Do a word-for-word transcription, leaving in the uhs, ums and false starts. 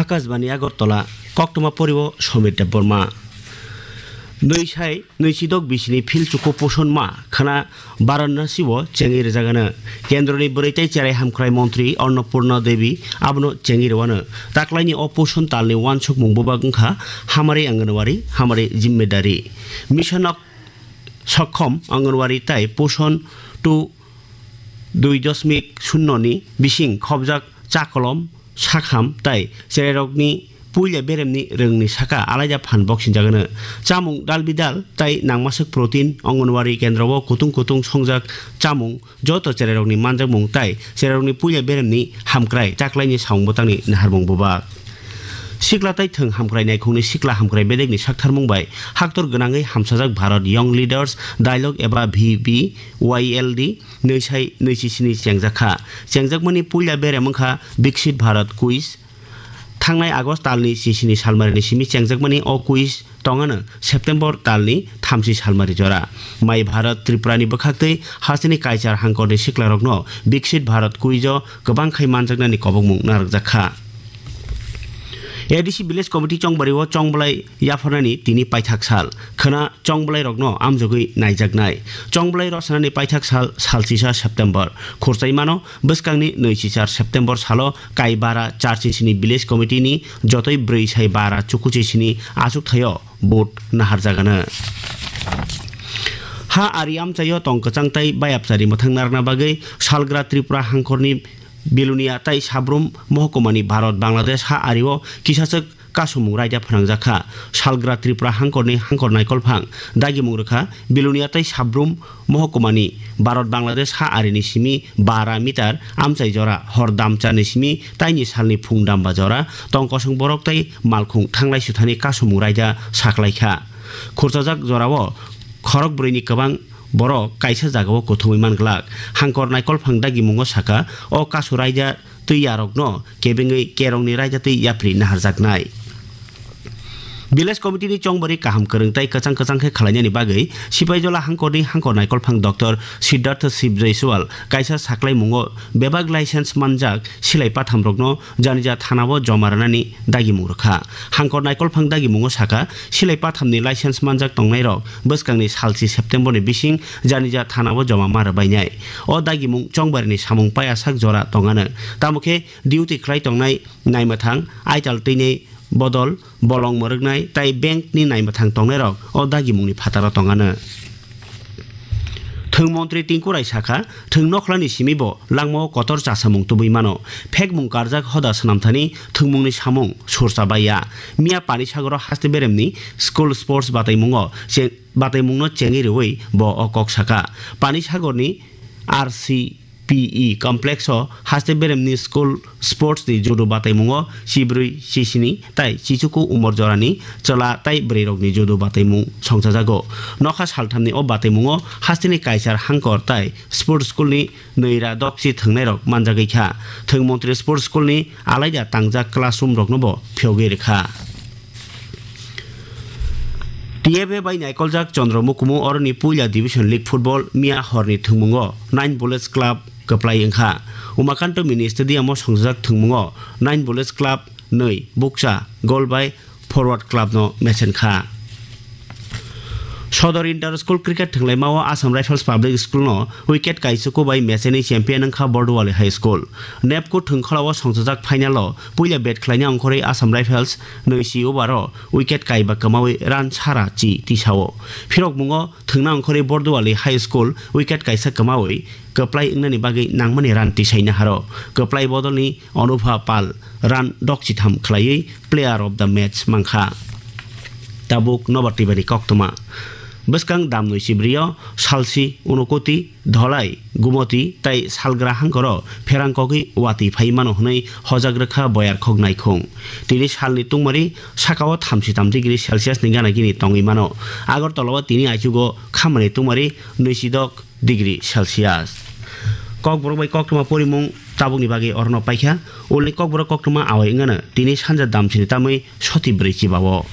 Akashbani Agartala, koktwma poriwo Somir Debbarma. Nwi sai nwi sidok bisini phil chuku poson ma khana Varanasi o chengwi rwjagano. Kendroni bwrwi tei cherai hamkrai montri Annapurna Devi abono chengwi rwano. Taklaini o poson talni uansukmung bubak wngkha Hamari Anganwadi, Hamari Jimmedari. Mission of Sokkhom Anganwadi tai Poson two dui dosmik shunyo ni bising khobjak chakolom, sakham tai cherairokni puila beremni rwngni saka alaida phan boksinjagano. Chamung dal bidal tai nangmaswk protein, Anganwadi kendro o kutung kutung songjak chamung joto cherairokni manjakmung tai cherairokni puila beremni hamkrai taklaini samung bwtangni naharmung bubak. Sikla tai thwng hamkrai naikhungni sikla hamkrai bedekni saktharmung bai haktor gwnangwi hamsajak Bharat Young Leaders Dialogue eba V B Y L D nwi sai nwi chi sini chengjakha. Chengjakmani puila berem wngkha Viksit Bharat Quiz. Thangnai August talni chisini salmarini simi chengjakmani o quiz tongano September talni thamchi salmari jora. Mai Bharat Tripurani bwkhaktwi hasteni kaichar hangkorni siklarokno Viksit Bharat Quiz o kwbang khai manjaknani kobokmung narwkjakha. A D C Village Committee chongbario chongbolai yapharnani tini paithak sal. Khwna chongbolai rokno amjogwi naijaknai. Chongbolai rwchanani paithak sal, salchisa September. Khurchai mano bwskangni nwi chichar September salo Kaibara Charchisini Village Committee ni jotoi bwrwi sai bara chukuchisini achukthai o vote naharjagano. Ha ari amchaio tong kwchang tai bayapchari mwthang narwkna bagwi salgra Tripura hangkorni Bilonia tai Sabrum mohkumani Bharat Bangladesh ha ario kisachwk kasumung raida phnangjakha. Salgra Tripura hangkorni hangkor naikolphang dagimung rwkha Bilonia tai Sabrum mohkumani Bharat Bangladesh ha arini simi bara meter amchai jora hor damcharni simi taini salni phung damba jora tong kosong borok tai malkhung thanglai suthani kasumung raida saklaikha. Khurchajak jorao khorok brwini kwbang borok kaisa jagao kuthumwi manglak. Hangkor naikolphang dagimungo saka, o kasu raida twi yarokno kebengwi kerongni raida twi yapri naharjaknai. Village Committee ni chongbari kaham kwrwng tai kwchang kwchang khe khwlainani bagwi Sipaijola hangkorni hangkor naikolphang Doctor Siddhartha Shiv Jaiswal kaisa saklaimungo bebak license manjak silai pathamrokno Janija thanao joma rwnani dagimung rwkha. Hangkor naikolphang dagimungo saka, silai pathamni license manjak tongnairok bwskangni salchi September ni bising Janija thanao joma ma rwbainai. O dagimung chongbarini samung paiyasak jora tongano. Tamo khe duty khlai tongnai naimwthang, aital twinai bodol, bolong mwrwknai tai bank ni naimwthang tongnairok o dagimungni phataro tongano. Thwng montri Tinku Rai sakha, thwng nokhlani simi bo langmao kotor chasamung tubui mano. Phekmung karjak hoda swnamthani thwngmungni samung sursa baiya. Miya Pani Sagoro haste beremni school sports bataimungo che-, bataimungno chengwi rwui bo o kok saka. Pani Sagorni R C P E complex o haste beremni school sports ni judo bataimungo chibrwi, chisini tai chichuku umor jorani chwla tai bwrwirokni judo bataimung songchajago. Nokha salthamni o bataimungo hasteni kaisar hangkor tai sports school ni nwira dokchi thwngnairok manjagwi kha. Thwng montri sports school ni alaida tangjak classroom rokno bo phiyogwi rwkha. T F A bai naikoljak Chandra Mukumu oroni puila Division League Football miya horni thwngmungo Nine Bullets Club kwplai wngkha. Umakanto Mini Stadium o songjak thwngmungo Nine Bullets Club nwi bukcha goal bai Forward Club no mechen kha. Sodor Inter School Cricket thwnglaimao Assam Rifles Public School no wicket kaisuku bai mecheni champion wngkha Borduwali High School. Nepco thwngkhwlao songchajak final o puila bat khlaina ongkhorwi Assam Rifles nwi si over o wicket kaiba kwmawi run sara chi tisao. Phirokmungo thwngna ongkhorwi Borduwali High School wicket kaisa kwmawi kwplai wngnani bagwi nangmani run tisai naharo. Kwplai bodolni Anubha Pal run dokchitham khlaiwi player of the match mankha. Tabuk nobar twibani koktwma. Bwskang damnwi chibrio salsi Unokoti, Dholai, Gumoti tai Salgra hangkoro pherang kogwi watwi phai mano hwnwi hojak rwkha Boyarkhok naikhung. Tini salni tungmari sakao thamchi tam degree Celsius ni gana gini tongwi mano. Agartala o tini aichugo khamani tungmari nwisidok degree Celsius. Kokborok bai koktwma porimung tabukni bagwi orono paikha. Ulni kokborok koktwma awai wngano tini sanja damchini tamwi soti brwi chibao.